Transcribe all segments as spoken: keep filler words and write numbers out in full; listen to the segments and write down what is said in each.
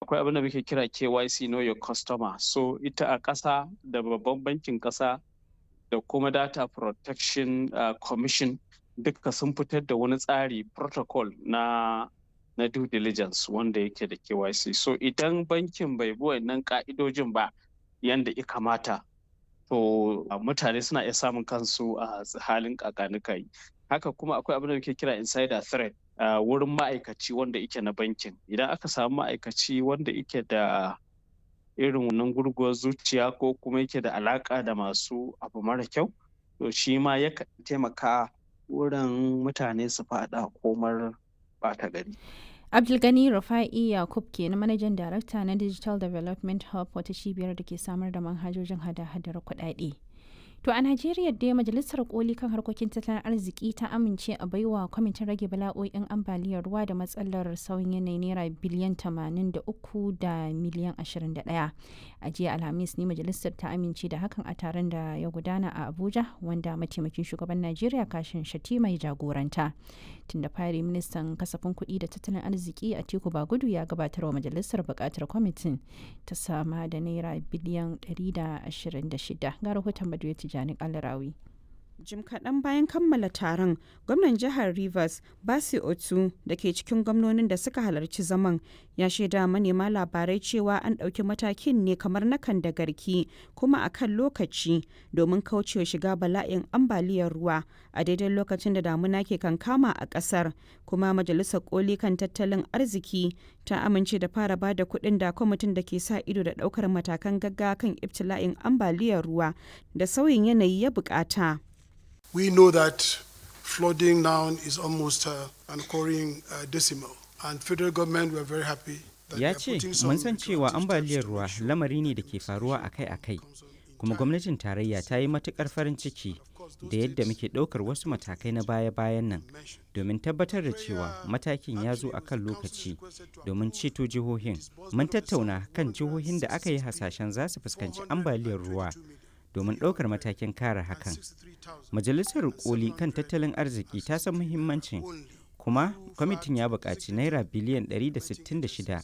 Akwai abin da muke kira K Y C, Know Your Customer. So ita a ƙasa da babban bankin ƙasa da kuma Data Protection uh, Commission duka sun fitar da wani tsari, protocol na na due diligence wanda yake da K Y C. So idan bankin bai bi wannan ka'idojin ba yanda ya kamata, to mutane suna iya samun kansu a halin kakanikai. Haka kuma akwai abin da muke kira insider threat uh, wurin ma'aikaci wanda yake na bankin. Idan aka samu ma'aikaci wanda yake da irin wannan gurguwar zuciya ko kuma yake da alaka da masu abu mara kyau, to shi ma yakan taimaka wurin mutane su faɗa komar ɓata gari. Abdulgani Rufa'i Yakub ke na manajan darakta na Digital Development Hub, wata cibiyar da ke samar da manhajojin hada-hadar kuɗaɗe. To a Najeriya dai, Majalisar Koli kan harkokin tattalin arziki ta amince a baiwa kwamitin rage bala'o'in ambaliyar ruwa da matsalar sauyin yanayi naira biliyan tamanin da uku da miliyan ashirin da ɗaya. A jiya Alhamis ne majalisar ta amince da hakan a taron da ya gudana a Abuja, wanda mataimakin shugaban Najeriya Kashin Shatima ya jagoranta. Tun da fari ministan kasafin kuɗi da tattalin arziki Atiku Bagudu ya gabatar wa majalisar buƙatar kwamitin ta sama da naira biliyan ɗari da ashirin da shida. Ga rahoton Maduya Tijjani Alarawi. Jim kaɗan bayan kammala taron, gwamnan jihar Rivers, Basi Otu, da ke cikin gwamnonin da suka halarci zaman, ya shaida manema labarai cewa an ɗauki matakin ne kamar na kan da garki kuma a kan lokaci domin kaucewa shiga bala'in ambaliyar ruwa a daidai lokacin da damuna ke kankama a ƙasar. Kuma majalisar koli kan tattalin arziki ta amince da fara ba da kuɗin da kwamitin da ke sa ido da ɗaukar matakan gaggawa kan ibtila'in ambaliyar ruwa da sauyin yanayi ya buƙata. We know that flooding now is almost uh, an occurring uh, decimal. And federal government were very happy. Ya ce, mun san cewa ambaliyar ruwa lamari ne da ke faruwa akai-akai, kuma gwamnatin tarayya ta yi matukar farin ciki da yadda muke ɗaukar wasu matakai na baya-bayan nan domin tabbatar da cewa matakin ya zo a kan lokaci domin ceto jihohin. Mun tattauna kan jihohin da aka yi hasashen za su fuskanci ambaliyar ruwa domin ɗaukar matakin kare hakan. Majalisar Koli kan tattalin arziki ta san muhimmancin, kuma kwamitin ya buƙaci naira biliyan ɗari da sittin da shida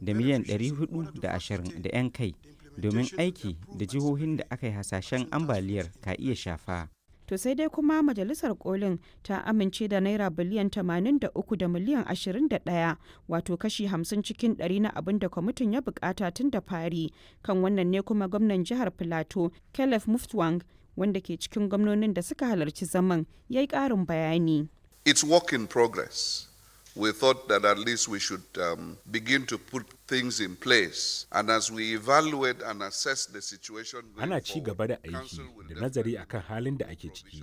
da miliyan ɗari huɗu da ashirin da 'yan kai domin aiki da jihohin da aka yi hasashen ambaliyar ka iya shafa. To sai dai kuma majalisar kolin ta amince da naira biliyan tamanin da uku da miliyan ashirin da ɗaya, wato kashi hamsin cikin ɗari na abin da kwamitin ya bukata tun da fari. Kan wannan ne kuma gwamnan jihar Filato, Caleb Muftwang, wanda ke cikin gwamnonin da suka halarci zaman, ya yi ƙarin bayani. It's work in progress. We thought that at least we should um, begin to put things in place. And as we evaluate and assess the situation Ana ci gaba da aiki da nazari akan halin da ake ciki.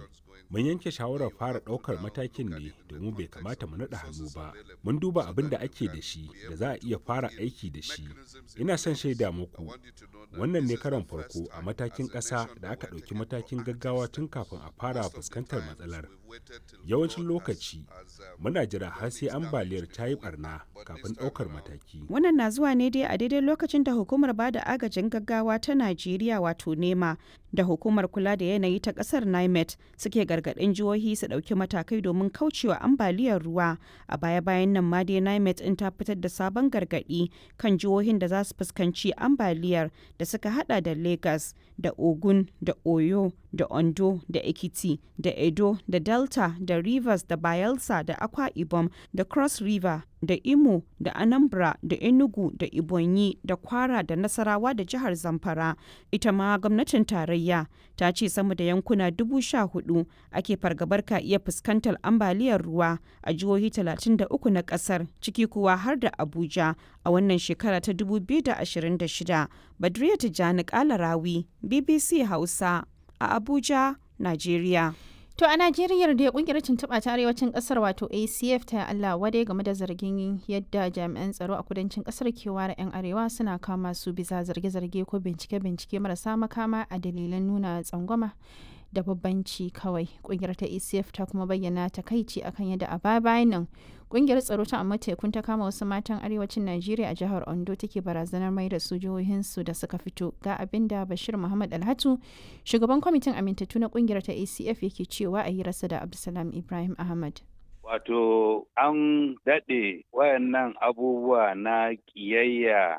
Mun yanke shawarar fara ɗaukar matakin ne domin bai kamata mu naɗa hannu ba. Mun duba abin da ake da shi da za a iya fara aiki da shi. Ina son shaida muku, wannan ne karon farko a matakin ƙasa da aka ɗauki matakin gaggawa tun kafin a fara fuskantar matsalar. Yawancin lokaci, muna jira har sai ambaliyar ta yi barna kafin ɗaukar mataki. Wannan na zuwa ne dai a daidai lokacin da hukumar bada agajin gaggawa ta Najeriya, wato NEMA, da hukumar kula da yanayi ta kasar NIMET suke gargaɗin jihohi su ɗauki matakai domin kaucewa ambaliyar ruwa. A baya-bayan nan ma dai NIMET in ta fitar da sabon gargaɗi kan jihohin da za su fuskanci ambaliyar da suka hada da Lagos da Ogun da Oyo da Ondo da Ekiti da Edo da Delta da Rivers da Bayelsa da Akwa Ibom da Cross River da Imo da Anambra da Enugu da Ibonyi da Kwara da Nasarawa da jihar Zamfara. Ita ma gwamnatin tarayya ta ce sama da yankuna dubu sha hudu ake fargabar ka iya fuskantar ambaliyar ruwa a jihohi talatin da uku na kasar, ciki kuwa har da Abuja, a wannan shekara ta dubu biyu da ashirin da shida. Badriya Tijjani Kalarawi, B B C Hausa, a Abuja, Najeriya. To a Najeriya da kungiyar tuntuɓa ta arewacin ƙasar, wato A C F, ta Allah wadai game da zargin yadda jami'an tsaro a kudancin ƙasar ke ware 'yan arewa suna kama su bisa zarge-zarge ko bincike-bincike marasa makama a dalilan nuna tsangwama da babbanci kawai. Kungiyar ta A C F ta kuma bayyana takaici akan yadda a baya bayan nan kungiyar tsaro ta amma tekun ta kama wasu matan arewacin Najeriya a jihar Ondo take barazanar mai da su jihohinsu da suka fito. Ga abin da Bashir Muhammad Alhatu, shugaban kwamitin amintattu na kungiyar ta A C F, yake cewa a hirarsa da Abdulsalam Ibrahim Ahmad. Wato an daɗe wayannan abubuwa na ƙiyayya.